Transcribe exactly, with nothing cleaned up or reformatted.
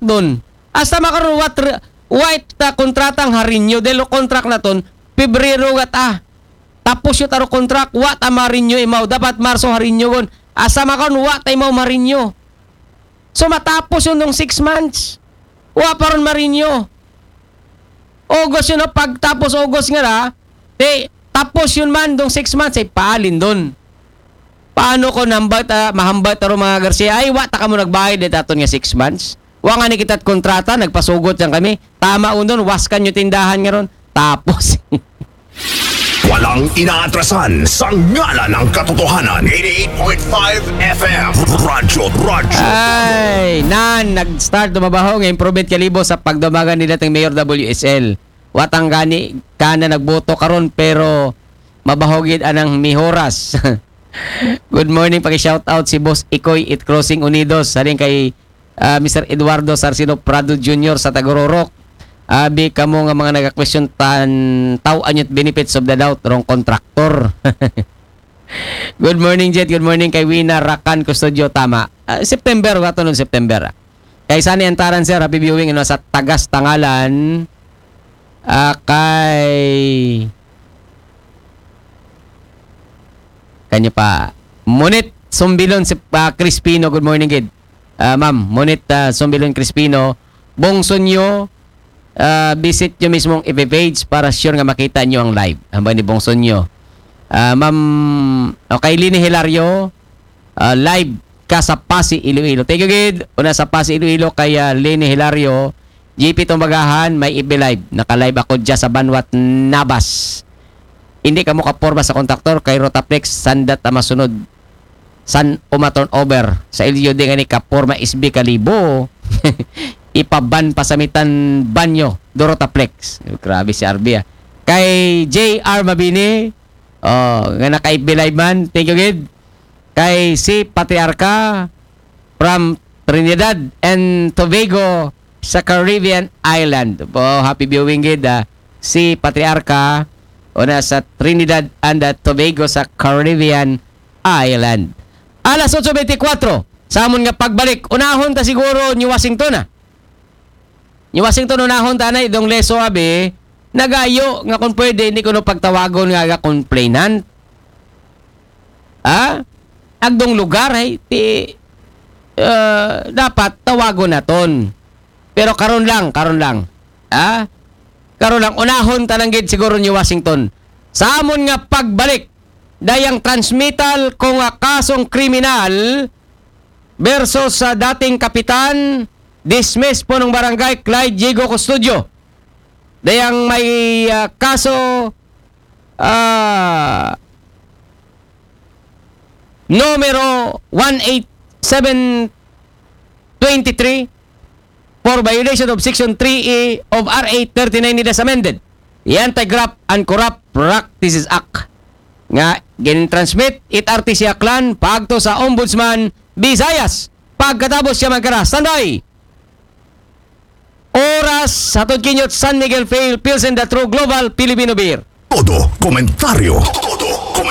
don. Hasta makaron, what, re-, what, ah, kontratang ha-renew, dahil lo contract naton, Pebrero gat, ah. Tapos yun taro contract, wa ta ma-renew imaw. Dapat Marso ha-renew gon. Hasta makaron, wa ta imaw ma-renew. So, matapos yun dong six months. Wa pa ron ma-renew. August yun, no? Pagtapos August nga ra, te, tapos yun man, dong six months, ay paalin don. Paano ko nambal, ah, mahambal taro mga Garcia? Ay, wa ta kamo nagbayad, eh, taton nga six months. Wa nga ni kita't kontrata, nagpasugot yan kami. Tama un don, waskan nyo tindahan nga ron. Tapos. Walang inaatrasan sa ngalan ng katotohanan. eighty-eight point five F M. Radyo, Radyo. Ay, nan, nag-start dumabaho nga improvement kalibo sa pagdumagan nila ting Mayor W S L. Watang gani kana nagboto karon pero mabahogid anang mihoras. Good morning, paki-shout out si Boss Ikoy it Crossing Unidos. Halin kay, ah, Mister Eduardo Sarcino Prado Junior sa Tagororok. Abi kamo nga mga naga-question tan taw anyot benefits of the doubt rong contractor. Good morning, Jet. Good morning kay Wina Rakan Custodio. Tama. Ah, September, wato nun September. Kay Sunny Antaran, sir. Happy viewing. Ano, sa Tagas Tangalan. Ah, kay... Kanya pa. Munit Sumbilon si ah, Crispino. Good morning, gid. Ah, ma'am, Munit ah, Sumbilon Crispino. Bongso nyo, ah, visit nyo mismo ang F B page para sure nga makita nyo ang live. Hambal ni Bongso nyo. Ah, ma'am, okay, Lini Hilario, ah, live ka sa Pasi, Iloilo. Thank you, gid. Una sa Pasi, Iloilo, kay ah, Lini Hilario, G P Tumbagahan, may F B live. Naka-live ako dyan sa Banwat, Nabas. Hindi kamo kaporma sa kontraktor, kay Rotaflex, sandat ang masunod. San uma turnover sa L U D nga ni kaporma S B kalibo. Ipaban pa sa mitan banyo, Dorotaflex. Grabe si R B, ah. Kay J R Mabini, oh, nga naka-F B live man. Thank you, gid. Kay si Patriarca from Trinidad and Tobago sa Caribbean Island. Po, happy viewing, gid, ah. Si Patriarca, una sa Trinidad and ah, Tobago sa Caribbean Island. Alas otso bentikwatro, sa amon nga pagbalik, unahon ta siguro ni Washington, ah. Ni Washington, unahon ta na, idong leso, abi, nagayo nga kung pwede, hindi ko no pagtawagon nga aga complainant. Ha? Agdong lugar, ay, ti, ah, dapat tawagon naton. Pero karon lang, karon lang. Ha? Karon lang, unahon ta lang gid siguro ni Washington. Sa amon nga pagbalik, dayang transmittal ko nga kasong kriminal versus sa dating kapitan, dismiss punong barangay, Clyde Diego Custodio. Dayang may ah, kaso ah, numero one eight seven twenty-three for violation of Section three A of R A thirty-nine as amended, the Anti-Graft and Corrupt Practices Act, nga gin-transmit it R T C Aklan paagto sa Ombudsman Visayas. Pagkatapos siya magkara, standby! Oras sa Tudkinyot, San Miguel Fail, Pilsen, The True Global Filipino Beer. Todo komentaryo,